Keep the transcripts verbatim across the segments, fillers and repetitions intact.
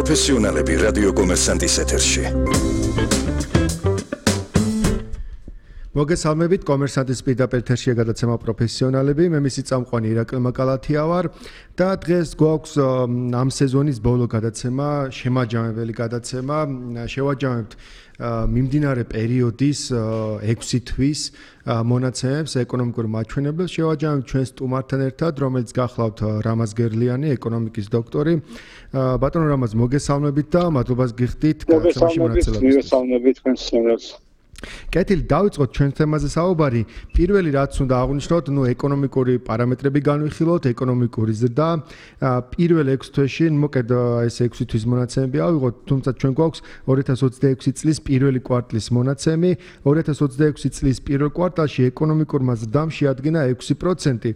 პროფესიონალები რადიო კომერსანტის ეთერში. მოგესალმებით, კომერსანტის პირდაპირ ეთერშია გადაცემა პროფესიონალები. მე მისი წამყვანი ირაკლი მაკალათია ვარ და დღეს გვაქვს ამ სეზონის ბოლო გადაცემა, შემაჯამებელი გადაცემა. შევაჯამებთ მიმდინარე პერიოდის ექვსი თვის მონაცემებს ეკონომიკურ მაჩვენებელს. შევაჯამებთ ჩვენ სტუმართან ერთად, რომელიც გახლავთ რამაზ გერლიანი, ეკონომიკის დოქტორი. ბატონო რამაზ, მოგესალმებით და მადლობას გიხდით გადაცემაში მონაწილეობისთვის. მოგესალმებით თქვენს სიამოვნებას. კეთილი, დავიწყოთ ჩვენ თემაზე საუბარი. პირველი რაც უნდა აღვნიშნოთ, ნუ ეკონომიკური პარამეტრები განვიხილოთ, ეკონომიკური ზრდა. პირველ ექვსი თვეში, მოკლედ ეს ექვსი თვის მონაცემები ავიღოთ, თუმცა ჩვენ გვაქვს ორი ათას ოცდაექვსი წლის პირველი კვარტლის მონაცემი. ორი ათას ოცდაექვსი წლის პირველ კვარტალში ეკონომიკურმა ზრდამ შეადგინა ექვსი პროცენტი,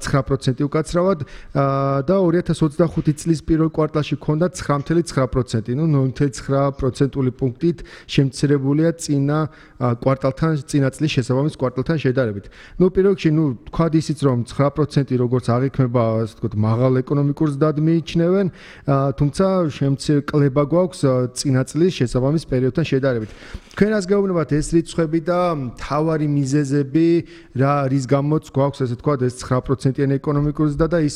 ცხრა პროცენტი უკაცრავად და ორი ათას ოცდახუთი წლის პირველ კვარტალში ჰქონდა ცხრა virgulă ცხრა პროცენტი, ნუ ნული virgulă ცხრა პროცენტული პუნქტით შემცირებულია წინა კვარტალთან, წინა წლის შესაბამის კვარტალთან შედარებით. ნუ პირველ რიგში, ნუ თქვათ ისიც რომ ცხრა პროცენტი როგორც აღიქმება, ასე ვთქვათ, მაღალ ეკონომიკურ ზრდად მიიჩნევენ, თუმცა შემცირება გვაქვს წინა წლის შესაბამის პერიოდთან შედარებით. თქვენ რას გეუბნებათ ეს რიცხვები და მთავარი მიზეზები, რა რის გამოც გვაქვს ასე ვთქვათ ეს ცხრა პროცენტიანი ეკონომიკური ზრდა და ის,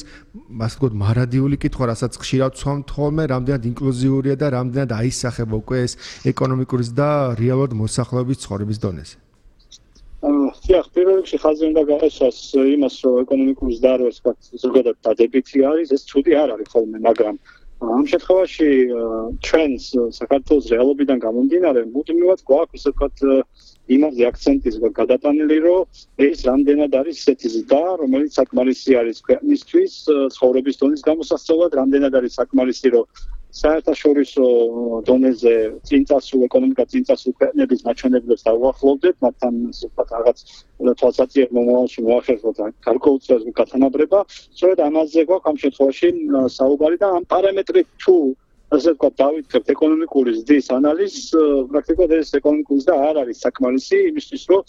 ასე ვთქვათ, მარადიული კითხვა, რასაც ხშირად ვცვამთ ხოლმე, რამდენად ინკლუზიურია და რამდენად აისახება უკვე ეს ეკონომიკური ზრდა რეალურად მოსახლეობის ცხოვრების დონეზე. დიახ, პირველ რიგში ხაზი უნდა გაეშვას იმას, რომ ეკონომიკური ზრდა რო ვთქვათ, ზოგადად დადებითი არის, ეს ცუდი არ არის ხოლმე, მაგრამ ამ შემთხვევაში ჩვენს საქართველოს რეალობიდან გამომდინარე, მუდმივად გვაქვს ასე ვთქვათ იმაზე აქცენტი გადატანილი, რომ ეს რამდენად არის ისეთი ზრდა, რომელიც საკმარისი არის ქვეყნისთვის ცხოვრების დონის გამოსასწორად, რამდენად არის საკმარისი, რომ საერთაშორისო დონეზე წინწასულ ეკონომიკა წინწასულ ქვეყნების მაჩვენებლებს დავუახლოვდეთ, მათთან ვთქვათ რაღაც თვალსაჩინო მომავალში მოახერხოთ გარკვეულწილად გათანაბრება. სწორედ ამაზე გვაქვს ამ შემთხვევაში საუბარი და ამ პარამეტრით თუ ასე ვთქვათ დავითქებთ ეკონომიკური ზრდის ანალიზს, პრაქტიკულად ეს ეკონომიკური ზრდა არ არის საკმარისი იმისთვის, რომ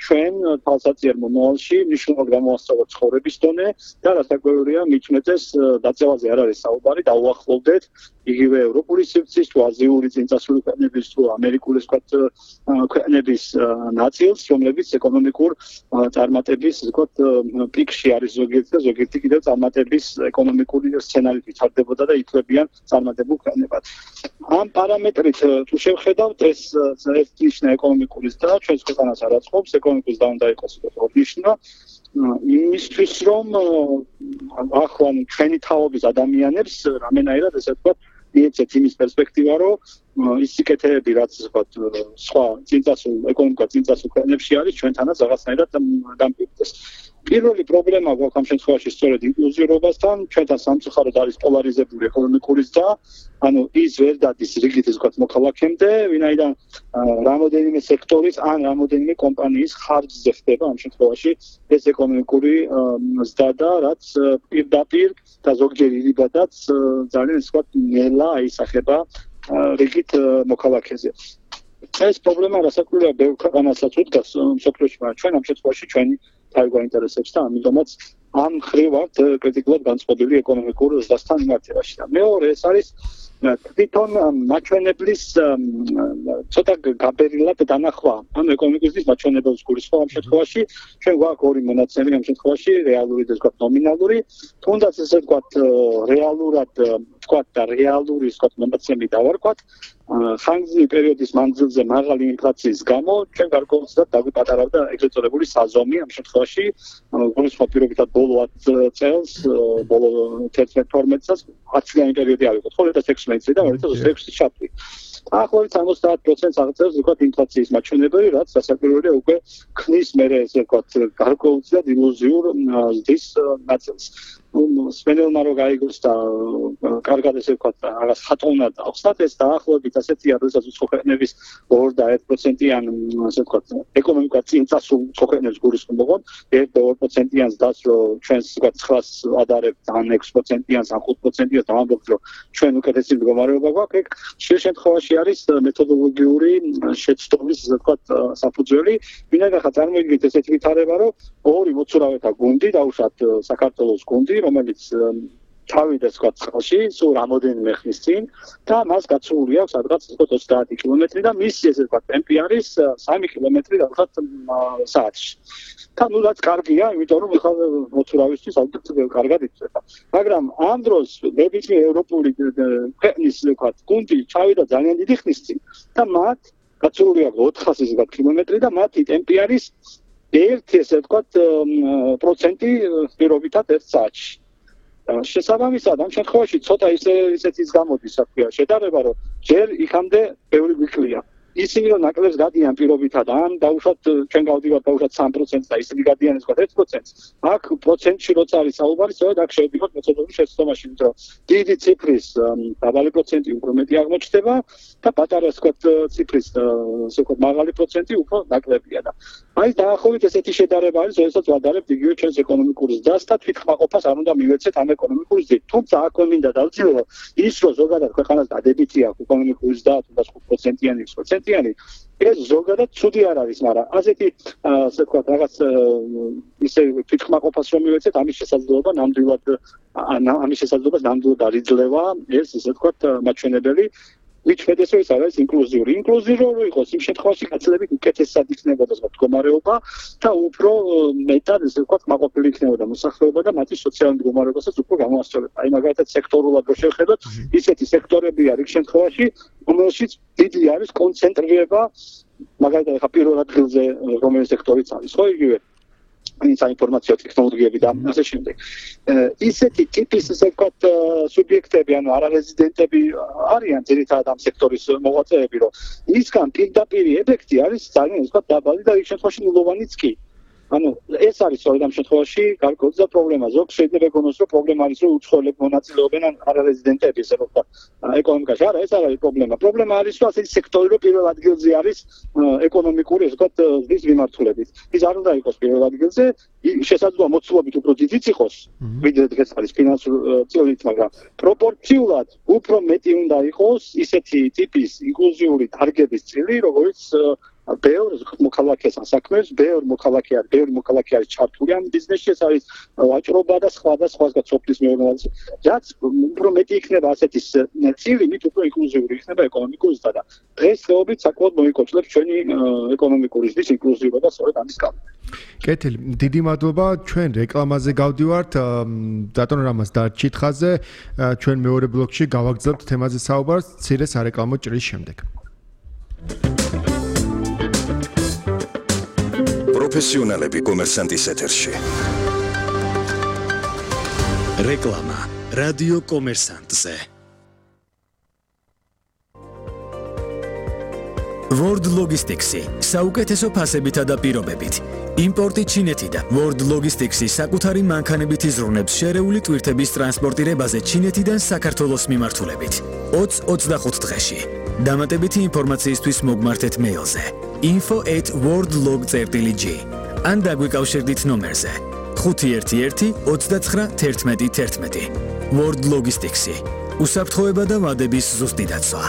ჩვენ თვალსაჩინო მომავალში მნიშვნელოვნად გამოვასწოროთ ცხოვრების დონე და რასაკვირველია მიჩნდეს დაწევაზე არ არის საუბარი, დავუახლოვდეთ იგივე ევროპული სივრცის თუ აზიური წინწასული ქვეყნების თუ ამერიკული ვთქვათ ქვეყნების ნაწილს, რომლებიც ეკონომიკურ წარმატების ვთქვათ პიკში არის ზოგიერთი და ზოგიერთი კიდევ წარმატების ეკონომიკური სცენარით ვითარდებოდა და ითვლებიან წარმატებულ ქვეყნებად. ამ პარამეტრით თუ შევხედავთ ეს ერთნიშნა ეკონომიკური ზრდა ჩვენს ქვეყანას არ აწყობს, ეკონომიკის ზრდა უნდა იყოს ორნიშნა. იმისთვის რომ ახლა ჩვენი თაობის ადამიანებს რამენაირად ესე ვთქვათ მიეცეთ იმის პერსპექტივა, რომ ის სიკეთეები, რაც ვთქვათ სხვა წინწასულ ეკონომიკა წინწასულ ქვეყნებში არის, ჩვენთანაც რაღაცნაირად დამკვიდრდეს. პირველი პრობლემა გვაქვს ამ შემთხვევაში სწორედ ინკლუზიურობასთან, ჩვენთან სამწუხაროდ არის პოლარიზებული ეკონომიკური ზრდა, ანუ ის ვერ დადის რიგით ვთქვათ მოქალაქემდე, ვინაიდან რამოდენიმე სექტორის ან რამოდენიმე კომპანიის ხარჯზე ხდება ამ შემთხვევაში ეს ეკონომიკური ზრდა და რაც პირდაპირ და ზოგჯერ ირიბადაც ძალიან ვთქვათ ნელა აისახება რიგით მოქალაქეზე. ეს პრობლემა რასაკვირველია ბევრ ქვეყანასაც უდგას მსოფლიოში, მაგრამ ჩვენ ამ შემთხვევაში ჩვენი თავი გვაინტერესებს და ამიტომაც ამ მხრივ ვართ კრიტიკულად განწყობილი ეკონომიკურ ზრდასთან მიმართებაში. და მეორე ეს არის თვითონ მაჩვენებლის ცოტა გაბერილად დანახვა. ანუ ეკონომიკის ზრდის მაჩვენებელს გულისხმობ ამ შემთხვევაში ჩვენ გვაქვს ორი მონაცემი ამ შემთხვევაში, რეალური და ვთქვათ ნომინალური. თუნდაც ესე ვთქვათ რეალურად ვთქვათ და რეალური ვთქვათ მონაცემი დავარქვათ. ხანგრძლივი პერიოდის მანძილზე მაღალი ინფლაციის გამო ჩვენ გარკვეულწილად დაგვიპატარავდა ეგრეთ წოდებული საზომი ამ შემთხვევაში გულისხმობ პირობითად ბოლო ათი წელს, ბოლო თერთმეტ თორმეტ წელს ათი წლიანი პერიოდი ავიღოთ, ხო, ორი ათას ექვსმეტი წელი და ორი ათას ოცდაექვსი ჩავთვლი. ახლობით ოცდაათ პროცენტს აღწევს ვთქვათ ინფლაციის მაჩვენებელი, რაც რასაკვირველია უკვე ქმნის მერე ესე ვთქვათ გარკვეულწილად ილუზიურ ზრდის ნაწილს. სპენელმა რო გაიგოს და კარგად ესე ვთქვათ რაღაც ხატოვნად ახსნათ ეს დაახლოებით ასეთია, როდესაც უცხო ქვეყნების ორი და ერთი პროცენტიან ასე ვთქვათ ეკონომიკა წინწასულ უცხო ქვეყნებს გულისხმობთ, ერთი და ორი პროცენტიან ზრდას რო ჩვენს ვთქვათ ცხრას ადარებთ ან ექვსი პროცენტიანს ან ხუთი პროცენტიანს და ამბობთ რომ ჩვენ უკეთესი მდგომარეობა გვაქვს, ეგ ხშირ შემთხვევაში არის მეთოდოლოგიური შეცდომის ასე ვთქვათ საფუძველი. ვინაიდან ხა წარმოიდგინეთ ესეთი ვითარება, რომ ორი მოცურავეთა გუნდი, დაუშვათ საქართველოს გუნდი, რომელიც ჩავიდეს თქვა წყალში, სულ რამოდენიმე ხნის წინ და მას გაცვლილი აქვს სადღაც ოცდაათი კილომეტრი და მისი ესე თქვა ტემპი არის სამი კილომეტრი რაღაცა საათში. და ნუ რაც კარგია, იმიტომ რომ ხა მოთურავისთვის ალბათ კარგად იწება. მაგრამ ამ დროს ნებისმიერ ევროპული ქვეყნის თქვა გუნდი ჩავიდა ძალიან დიდი ხნის წინ და მათ გაცვლილი აქვს ოთხასი კილომეტრი და მათი ტემპი არის ერთი ესე თქვა პროცენტი პირობითად ერთ საათში. შესაბამისად, ამ შემთხვევაში ცოტა ისე ისეთის გამოდის, რა ქვია, შედარება, რომ ჯერ იქამდე ბევრი გვიკლია. ისინი რომ ნაკლებს გადიან პირობითად, ან დაუშვათ ჩვენ გავდივართ დაუშვათ სამი პროცენტს და ისინი გადიან ეს თქვა ერთ პროცენტს. აქ პროცენტში როცა არის საუბარი, სწორედ აქ შევდივართ მეთოდური შეცდომაში, რომ დიდი ციფრის დაბალი პროცენტი უფრო მეტი აღმოჩნდება და პატარა თქვა ციფრის ასე ვთქვათ მაღალი პროცენტი უფრო ნაკლებია და აი დაახლოებით ესეთი შედარება არის, როდესაც ვადარებთ იგივე ჩვენს ეკონომიკურ ზრდას და თვითკმაყოფას არ უნდა მივეცეთ ამ ეკონომიკურ ზრდით. თუმცა აქ მინდა დავწირო ის, რომ ზოგადად ქვეყანას დადებითი აქვს ეკონომიკური ზრდა, თუნდაც ხუთ პროცენტიანი, ექვს პროცენტიანი, ეს ზოგადად ცუდი არ არის, მაგრამ ასეთი ასე ვთქვათ რაღაც ისე თვითკმაყოფას რომ მივეცეთ, ამის შესაძლებლობა ნამდვილად ამის შესაძლებლობას ნამდვილად არ იძლევა ეს ისე ვთქვათ მაჩვენებელი მიჩვენდეს რომ ეს არის ინკლუზიური. ინკლუზიური რო იყოს, იმ შემთხვევაში გაცილებით უკეთესად იქნებოდა მდგომარეობა და უფრო მეტად ესე ვთქვათ კმაყოფილი იქნებოდა მოსახლეობა და მათი სოციალური მდგომარეობასაც უფრო გამოასწორებდა. აი მაგალითად სექტორულად რო შევხედოთ, ისეთი სექტორები არის შემთხვევაში, რომელშიც დიდი არის კონცენტრირება, მაგალითად ხა პირველ ადგილზე რომელი სექტორიც არის, ხო იგივე საინფორმაციო ტექნოლოგიები და ასე შემდეგ. ისეთი ტიპის ესე ვთქვათ სუბიექტები, ანუ არარეზიდენტები არიან ძირითადად ამ სექტორის მოღვაწეები, რომ მისგან პირდაპირი ეფექტი არის ძალიან ვთქვათ დაბალი და იქ შემთხვევაში ნულოვანიც კი. ანუ ეს არის სწორედ ამ შემთხვევაში გარკვეული პრობლემა. ზოგ შეიძლება ეგონოს, რომ პრობლემა არის, რომ უცხოელები მონაწილეობენ არარეზიდენტები, ესე ვთქვათ, ეკონომიკაში. არა, ეს არ არის პრობლემა. პრობლემა არის, რომ ასეთი სექტორი, რომ პირველ ადგილზე არის ეკონომიკური, ესე ვთქვათ, ზრდის მიმართულებით. ის არ უნდა იყოს პირველ ადგილზე, შესაძლოა მოცულობით უფრო დიდიც იყოს, ვიდრე დღეს არის ფინანსური წილით, მაგრამ პროპორციულად უფრო მეტი უნდა იყოს ისეთი ტიპის ინკლუზიური დარგების წილი, როგორც ბევრ მოქალაქეს ასაქმებს, ბევრ მოქალაქე არის, ბევრი მოქალაქე არის ჩართული ამ ბიზნესში, ეს არის ვაჭრობა და სხვა და სხვა სოფლის მეურნეობა. რაც უფრო მეტი იქნება ასეთი წილი, მით უფრო ინკლუზიური იქნება ეკონომიკური ზრდა და დღესდღეობით საკმაოდ მოიკოჭლებს ჩვენი ეკონომიკური ზრდის ინკლუზიურობა სწორედ ამის გამო. კეთილი, დიდი მადლობა. ჩვენ რეკლამაზე გავდივართ. ბატონ რამაზ დარჩით ხაზზე. ჩვენ მეორე ბლოკში გავაგრძელებთ თემაზე საუბარს მცირე სარეკლამო ჭრის შემდეგ. პროფესიონალები კომერსანტის ეთერში. რეკლამა რადიო კომერსანტზე. World Logistics-ი საუკეთესო ფასებითა და პირობებით. იმპორტი ჩინეთიდან. World Logistics-ი საკუთარი მანქანებით იზრუნებს შერეული ტვირთების ტრანსპორტირებაზე ჩინეთიდან საქართველოს მიმართულებით. ოცი ოცდახუთ დღეში. დამატებითი ინფორმაციისთვის მოგმართეთ მეილზე info at worldlog dot g ან დაგვიკავშირდით ნომერზე ხუთი ერთი ერთი ოცდაცხრა თერთმეტი თერთმეტი. World Logistics-ი უსაფრთხოება და ვადების ზუსტი დაცვა.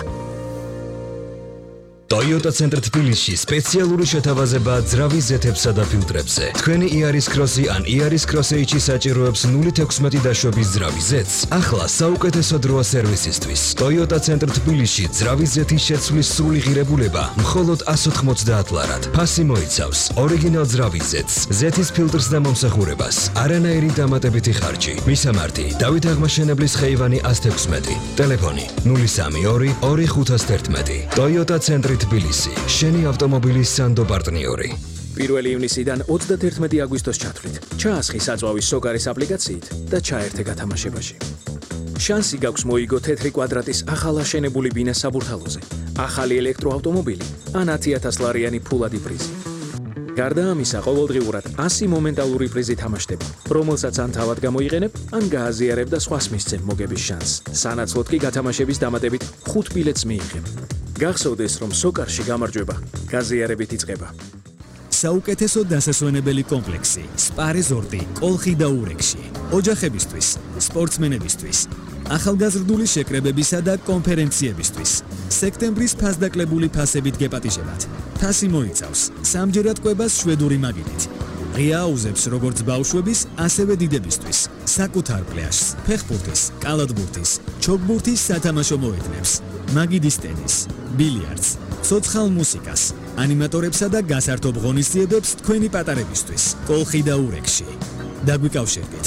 Toyota Center თბილისში სპეციალური შეთავაზება ძრავის ზეთებსა და ფილტრებზე. თქვენი Yaris Cross-ი ან Yaris Cross H-ი საჭიროებს ნული თექვსმეტი დაშვების ძრავის ზეთს. ახლა საუკეთესო დროა სერვისისთვის. Toyota Center თბილისში ძრავის ზეთის შეცვლის სრული ღირებულება მხოლოდ εκατს ოთხმოცდაათ ლარად. ფასი მოიცავს ორიგინალ ძრავის ზეთს, ზეთის ფილტრს და მომსახურებას, არანაირი დამატებითი ხარჯი. მისამართი: დავით აღმაშენებლის ხეივანი εκατს თექვსმეტი. ტელეფონი ნული სამი ორი ორი ხუთას თერთმეტი. Toyota Center თბილისი, შენი ავტომობილის სანდო პარტნიორი. პირველი ივნისიდან ოცდათერთმეტი აგვისტოს ჩათვლით. ჩაასხი საწვავის სოკარის აპლიკაციით და ჩაერთე გათამაშებაში. შანსი გაქვს მოიგო თეთრი კვადრატის ახალ აშენებული ბინა საბურთალოზე, ახალი ელექტროავტომობილი ან ათი ათას ლარიანი ფულადი პრიზი. გარდა ამისა, ყოველდღიურად ასი მომენტალური პრიზი თამაშდება, რომელსაც ან თავად გამოიყენებ, ან გააზიარებ და სხვას მისცემ მოგების შანსს. სანაცვლოდ კი გათამაშების დამატებით ხუთ ბილეთს მიიღებ. გახსოვდეს, რომ სოკარში გამარჯვება გაზიარებით იწყება. საუკეთესო დასასვენებელი კომპლექსი სპა რეზორტი კოლხი და ურეკში. ოჯახებისთვის, სპორტსმენებისთვის, ახალგაზრდული შეკრებებისა და კონფერენციებისთვის. სექტემბრის ფასდაკლებული ფასებით გეპატიჟებათ. ფასი მოიცავს სამჯერად კვებას შვედური მაგიდით. ღია აუზებს როგორც ბავშვების, ასევე დიდებისთვის. საკუთარ პლაჟს, ფეხბურთის, კალათბურთის, ჩოგბურთის სათამაშო მოედნებს, მაგიდის ტენის, ბილიარდს, ცოცხალ მუსიკას, ანიმატორებსა და გასართობ ღონისძიებებს თქვენი პატარებისთვის. კოლხი და ურეკში. დაგვიკავშირდით.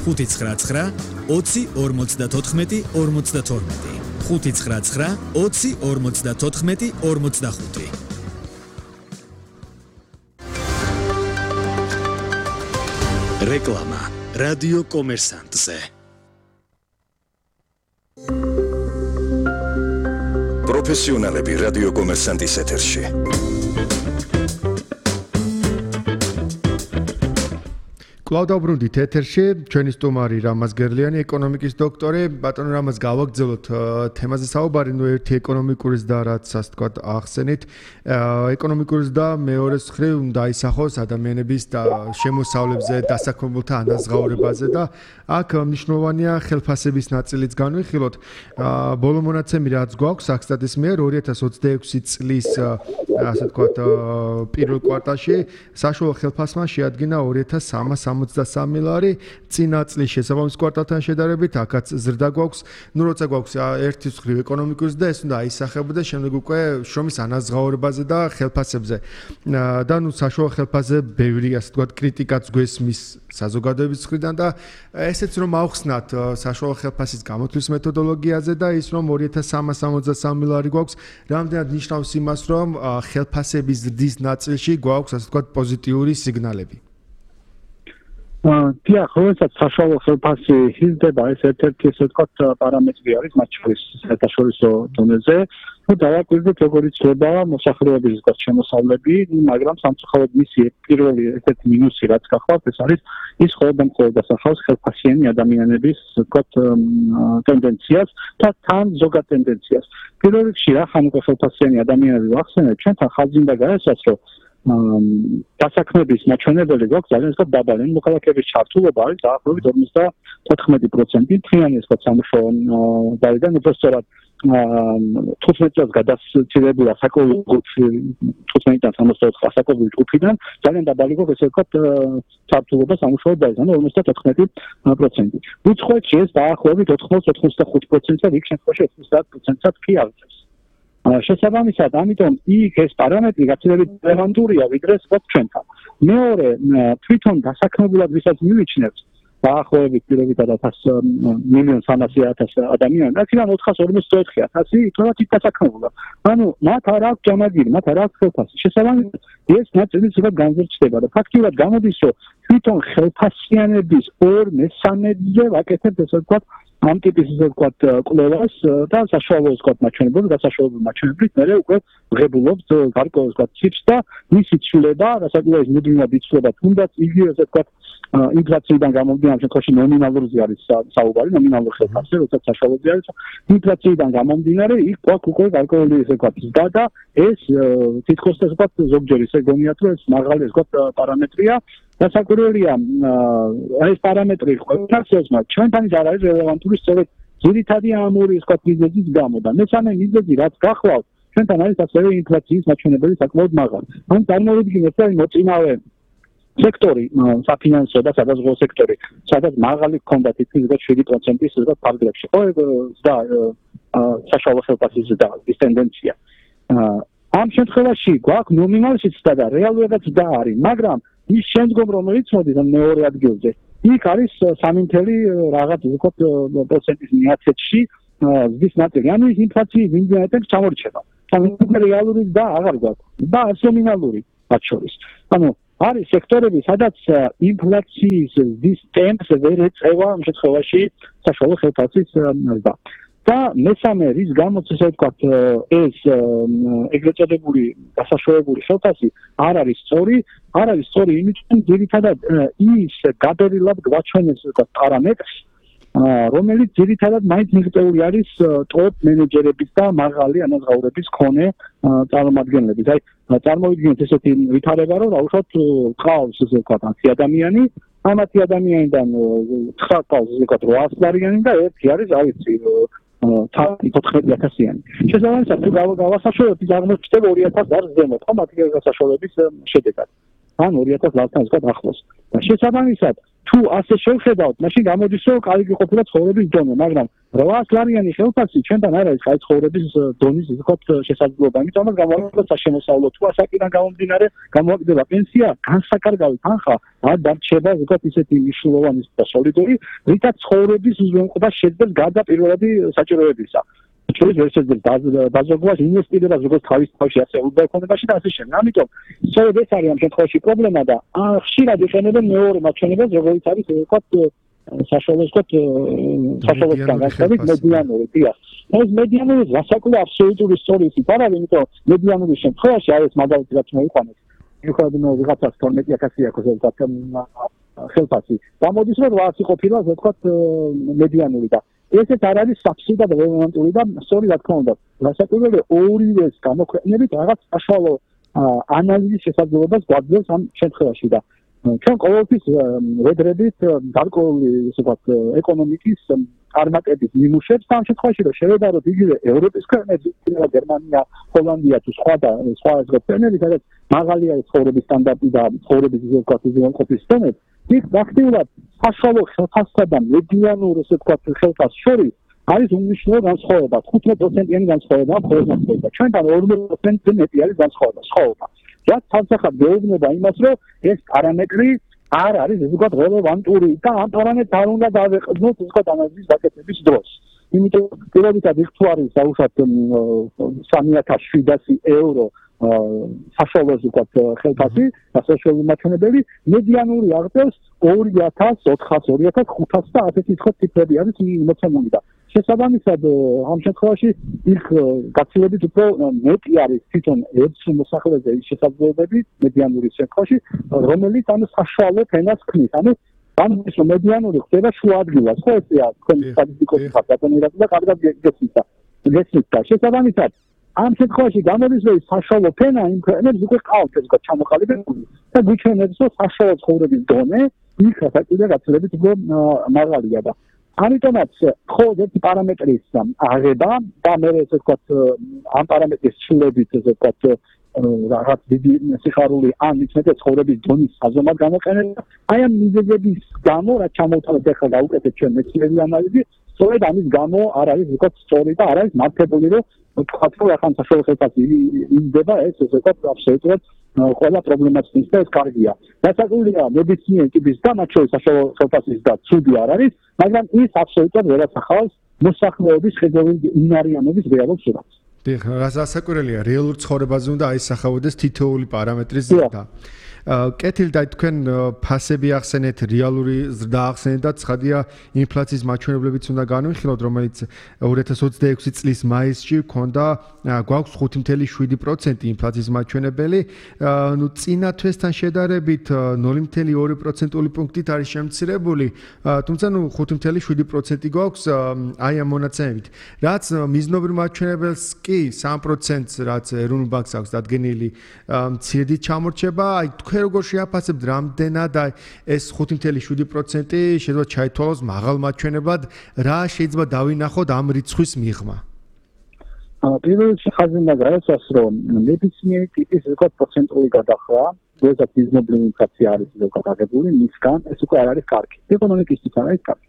ხუთი ცხრა ცხრა ოცი ორმოცდათოთხმეტი ორმოცდათორმეტი ხუთი ცხრა ცხრა ოცი ორმოცდათოთხმეტი ორმოცდახუთი რეკლამა რადიო კომერსანტზე პროფესიონალები რადიო კომერსანტის ეთერში. კლავდაუბრუნდით ეთერში, ჩვენი სტუმარი რამაზ გერლიანი, ეკონომიკის დოქტორი. ბატონო რამაზ, გავაგრძელოთ თემაზე საუბარი, ნუ ერთი ეკონომიკურის და რაც ასე თქვა ახსენით. ეკონომიკურის და მეორეს მხრივ უნდა ისახოს ადამიანების და შემოსავლებზე, დასაქმებულთა ანაზღაურებაზე და აქ მნიშვნელოვანია ხელფასების ნაწილიც განვიხილოთ. ბოლო მონაცემი რაც გვაქვს საქსტატის მიერ ორი ათას ოცდაექვსი წლის ასე თქვა პირველ კვარტალში საშუალო ხელფასმა შეადგინა ორი ათას სამას სამოცდასამი ლარი, წინა წლის შესაბამის კვარტალთან შედარებით აქაც ზრდა გვაქვს. ნუ როცა გვაქვს ერთი მხრივ ეკონომიკის და ეს უნდა აისახებოდეს შემდეგ უკვე შრომის ანაზღაურებაზე და ხელფასებზე. და ნუ საშუალო ხელფასზე ბევრი ასე თქვა კრიტიკაც გვესმის საზოგადოების მხრიდან და ესეც რომ ავხსნათ საშუალო ხელფასის გამოთვლის მეთოდოლოგიაზე და ის რომ ორი ათას სამას სამოცდასამი ლარი გვაქვს, რამდენად ნიშნავს იმას რომ ხელფასების ზრდის ნაწილში გვაქვს ასე თქვა პოზიტიური სიგნალები. დიახ, როდესაც საშუალო ხელფასი იზრდება, ეს ერთ-ერთი ესე ვთქვათ პარამეტრი არის მათ შორის საერთაშორისო დონეზე. ნუ დავაკვირდით როგორ იცვლება მოსახლეობის ზოგადად შემოსავლები, მაგრამ სამწუხაროდ მისი პირველი ერთ-ერთი მინუსი რაც გახლავთ, ეს არის ის ხოლმე მხოლოდ დასახავს ხელფასიანი ადამიანების ვთქვათ ტენდენციას და თან ზოგად ტენდენციას. პირველ რიგში რა ხან უკვე ხელფასიანი ადამიანები ვახსენეთ, ჩვენთან ხაზი უნდა გაესვას, რომ დასაქმების მაჩვენებელი გვაქვს ძალიან ზოგად დაბალი. მოქალაქეების ჩართულობა არის დაახლოებით ორმოცდათოთხმეტი პროცენტი მთლიანი ეს სამუშაო დაიდან უბრალოდ თხუთმეტ წელს გადასცილებული ასაკობრივი ჯგუფი თხუთმეტიდან სამოცდაოთხ ასაკობრივი ჯგუფიდან ძალიან დაბალი გვაქვს ესე ვთქვათ ჩართულობა სამუშაო დაიდან ორმოცდათოთხმეტი პროცენტი. უცხოეთში ეს დაახლოებით ოთხმოცდაოთხ ოცდახუთი პროცენტია, იქ შემთხვევაში ოცდაათ პროცენტსაც კი აღწევს. შესაბამისად, ამიტომ იქ ეს პარამეტრი გაცილებით რელევანტურია, ვიდრე სხვა ჩვენთან. მეორე, თვითონ დასაქმებულად ვისაც მივიჩნევთ, დაახლოებით პირობითად ათას მილიონ სამასი ათას ადამიანი, აქედან ოთხას ორმოცდაოთხი ათასი იქნება დასაქმებულად. ანუ მათ არ აქვს ჯამაგირი, მათ არ აქვს ხელფასი. შესაბამისად, ეს ნაწილი ზოგადად განზრჩდება და ფაქტიურად გამოდის, რომ თვითონ ხელფასიანების ორ მესამედზე ვაკეთებთ ესე ვთქვათ ამ ტიპის ისე ვთქვათ კვლევას და საშუალო ვთქვათ მაჩვენებლებს და საშუალო მაჩვენებლით მე უკვე ვღებულობთ გარკვეულ ვთქვათ ციფრს და მისი ცვლილება, რასაც მუდმივად იცვლება, თუნდაც იგივე ესე ვთქვათ ინფლაციიდან გამომდინარე, შემთხვევაში ნომინალურზე არის საუბარი, ნომინალურ ხელფასზე, როდესაც საშუალოზე არის, ინფლაციიდან გამომდინარე, იქ გვაქვს უკვე გარკვეული ესე ვთქვათ ზრდა და ეს თითქოს ესე ვთქვათ ზოგჯერ ისე გონიათ, რომ ეს მაღალი ესე ვთქვათ პარამეტრია. დასაკვირველია, ეს პარამეტრი ყველასთვის, მაგრამ ჩვენთან ის არ არის რელევანტური სწორედ ძირითადი ამ ორი ისე ვთქვათ მიზეზის გამო და მესამე მიზეზი რაც გახლავთ, ჩვენთან არის ასევე ინფლაციის მაჩვენებელი საკმაოდ მაღალი. ან წარმოვიდგინეთ, რომ მოწინავე სექტორი, საფინანსო და სადაზღვევო სექტორი, სადაც მაღალი ჰქონდა თითქმის შვიდი პროცენტის ზოგადად ფარგლებში. ხო, და საშუალო ხელფასის ზრდა, ის ტენდენცია. ამ შემთხვევაში გვაქვს ნომინალში ზრდა და რეალურადაც ზრდა არის, მაგრამ ის შემდგომ რომელიც მოდის მეორე ადგილზე, იქ არის სამი მთელი რაღაც ვთქვათ პროცენტის მიაცეთში ზრდის ნაწილი. ანუ ის ინფლაციის ინდიატებს ჩამორჩება. სამი რეალური და აღარ გვაქვს და ნომინალური მათ შორის. ანუ არის სექტორები, სადაც ინფლაციის ზრდის ტემპს ვერ ეწევა ამ შემთხვევაში საშუალო ხელფასის ზრდა. და მესამე რის გამოც ესე ვთქვათ ეს ეგრეთ წოდებული დასაშუალებული ხელფასი არ არის სწორი, არ არის სწორი იმით, რომ ძირითადად ის გადადილად გვაჩვენებს ვთქვათ პარამეტრს, რომელიც ძირითადად მაინც მიღწეული არის ტოპ მენეჯერების და მაღალი ანაზღაურების მქონე წარმომადგენლების. აი წარმოვიდგინეთ ესეთი ვითარება, რომ რაუშავთ ყავს ესე ვთქვათ ათი ადამიანი, ამ ათი ადამიანიდან ცხრა ყავს ესე ვთქვათ რვაას ლარიანი და ერთი არის რა ვიცი თოთხმეტი ათასიანი. შესაბამისად თუ გავასაშუალოთ ის აღმოჩნდება ორი ათას ლარს ზემოთ, ხო მათი გასაშუალების შედეგად. ან ორი ათას ლართან ზოგადად ახლოს. და შესაბამისად, თუ ასე შევხედავთ, მაშინ გამოდის, რომ კარგი ყოფილა ცხოვრების დონე, მაგრამ რვაას ლარიანი ხელფასი ჩვენთან არ არის კაი ცხოვრების დონის ზოგადად შესაძლებლობა. იმიტომ რომ გამოვიდა შემოსავლო თუ ასაკიდან გამომდინარე, გამოვიდა პენსია, განსაკარგავი თანხა არ დარჩება ზოგადად ისეთი მნიშვნელოვანი და სოლიდური, რითაც ცხოვრების უზრუნველყოფა შეძლებს გარდა პირველადი საჭიროებისა. ჩვენს ვერსიებს დაზოგვას ინვესტირება ზოგადად თავის თავში ასე უდაექონებაში და ასე შემდეგ. ამიტომ სწორედ ეს არის ამ შემთხვევაში პრობლემა და ხშირად იყენებენ მეორე მაჩვენებელს, როგორც არის ვთქვათ საშუალო ვთქვათ საშუალო განსხვავებით მედიანური დია. ეს მედიანური გასაკვირველი აბსოლუტური სწორი ისიც არ არის, იმიტომ მედიანური შემთხვევაში არის მაგალითად რაც მოიყვანეთ. მიუხედავად ვიღაცას თორმეტი ათასი აქვს ზოგადად ხელფასი. გამოდის რომ რვაასი ყოფილა ვთქვათ მედიანური და ესეც არ არის საბსიდად რელევანტური და სწორი რა თქმა უნდა გასაკვირველი ორივეს გამოქვეყნებით რაღაც საშუალო ანალიზის შესაძლებლობას გვაძლევს ამ შემთხვევაში და ჩვენ ყოველთვის ვედრებით გარკვეული ისე ვთქვათ ეკონომიკის წარმატების ნიმუშებს და ამ შემთხვევაში რომ შევედაროთ იგივე ევროპის ქვეყნები, გერმანია, ჰოლანდია თუ სხვა და სხვა ქვეყნები, სადაც მაღალია ცხოვრების სტანდარტი და ცხოვრების ისე ვთქვათ უზრუნველყოფის დონე, იქ ფაქტიურად საშუალო ხელფასსა და მედიანურ ესე ვთქვათ ხელფასს შორის არის უმნიშვნელო განსხვავება, თხუთმეტ პროცენტიანი განსხვავება ხოლმე და ჩვენთან ორმოცი პროცენტი მეტი არის განსხვავება, სხვაობა. რაც თავსახად გეუბნება იმას, რომ ეს პარამეტრი არ არის ზოგადად რელევანტური და ამ პარამეტრს არ უნდა დავეყრდნოთ ზოგადად ანალიზის გაკეთების დროს. იმიტომ პირობითად იქ თუ არის დაუშვათ სამი ათას შვიდასი ევრო საშუალო ზოგადად ხელფასი, საშუალო მაჩვენებელი, მედიანური აღწევს ორი ათას, ოთხას, ორი ათას ხუთას და ასეთი თქო ციფრები არის მოცემული და შესაბამისად ამ შემთხვევაში იქ გაცილებით უფრო მეტი არის თვითონ ერთ მოსახლეზე ის შესაძლებლობები მედიანური შემთხვევაში, რომელიც ანუ საშუალო ფენას ქმნის. ანუ ამის მედიანური ხდება შუა ადგილას, ხო ესეა თქვენი სტატისტიკური ფაქტები და კარგად გესმით და გესმით და შესაბამისად ამ შემთხვევაში გამოდის რომ საშუალო ფენა იმ ქვეყნებს უკვე ყავთ ეს ჩამოყალიბებული და გვიჩვენებს რომ საშუალო ცხოვრების დონე იქ საკუთარ გაცილებით უფრო მაღალია და ამიტომაც მხოლოდ ერთი პარამეტრის აღება და მე ესე ვთქვათ ამ პარამეტრის ცვლილებით ესე ვთქვათ რაღაც დიდი სიხარული ან მithmete ცხოვრების დონის საზომად გამოყენება აი ამ მიზეზების გამო რაც ჩამოვთვალეთ ახლა გავუკეთეთ ჩვენ მეცნიერული ანალიზი სწორედ ამის გამო არ არის ვთქვათ სწორი და არ არის მართებული რომ ვთქვათ რომ ახლა საშუალო ხელფასი იმდება ეს ესე ვთქვათ აბსოლუტურად ყველა პრობლემას ის და ეს კარგია. დასაკვირველია მედიცინური ტიპის და მათ შორის საშუალო ხელფასის და ცუდი არ არის, მაგრამ ის აბსოლუტურად ვერ ასახავს მოსახლეობის ხედავი უნარიანობის რეალურ სურათს. დიახ, გასაკვირველია, რეალურ ცხოვრებაზე უნდა აისახავდეს თითოეული პარამეტრის ზრდა. კეთილდა თქვენ ფასები ახსენეთ, რეალური ზრდა ახსენეთ და ცხადია ინფლაციის მაჩვენებლებიც უნდა განვიხილოთ, რომელიც ორი ათას ოცდაექვსი წლის მაისში ჰქონდა გვაქვს ხუთი ათეული შვიდი პროცენტი ინფლაციის მაჩვენებელი, ნუ წინა თვესთან შედარებით ნული ათეული ორი პროცენტული პუნქტით არის შემცირებული, თუმცა ნუ ხუთი ათეული შვიდი პროცენტი გვაქვს აი ამ მონაცემებით. რაც მიზნობრივ მაჩვენებელს კი სამი პროცენტს რაც ეროვნულ ბანკს აქვს დადგენილი მცირედით ჩამორჩება, აი თქვენ როგორ შეაფასებთ რამდენად აი ეს ხუთი ათეული შვიდი პროცენტი შეიძლება ჩაითვალოს მაღალ მაჩვენებლად, რა შეიძლება დავინახოთ ამ რიცხვის მიღმა? პირველ რიგში ხაზი უნდა გააცნოს, რომ ნებისმიერი ტიპის ზოგადად პროცენტული გადახრა, როდესაც მიზნობრივი ინფლაცია არის ზოგადად აღებული, მისგან ეს უკვე არ არის კარგი. ეკონომიკისთვის არ არის კარგი.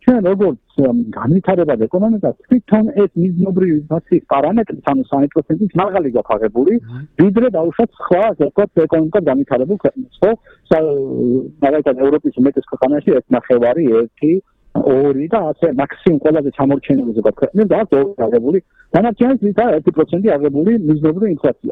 ჩვენ როგორც განვითარებად ეკონომიკას თვითონ ეს მიზნობრივი ინფლაციის პარამეტრი ანუ სამი პროცენტის მაღალი გვაქვს აღებული, ვიდრე დაუშვათ სხვა ზოგადად ეკონომიკად განვითარებულ ქვეყნებს, ხო? მაგალითად ევროპის უმეტეს ქვეყანაში ეს ნახევარი, ერთი, ორი და ასე მაქსიმუმ ყველაზე ჩამორჩენილი ზოგადად ქვეყნებს და აქვს ორი აღებული. დანარჩენიც ვით არის ერთი პროცენტი აღებული მიზნობრივი ინფლაცია.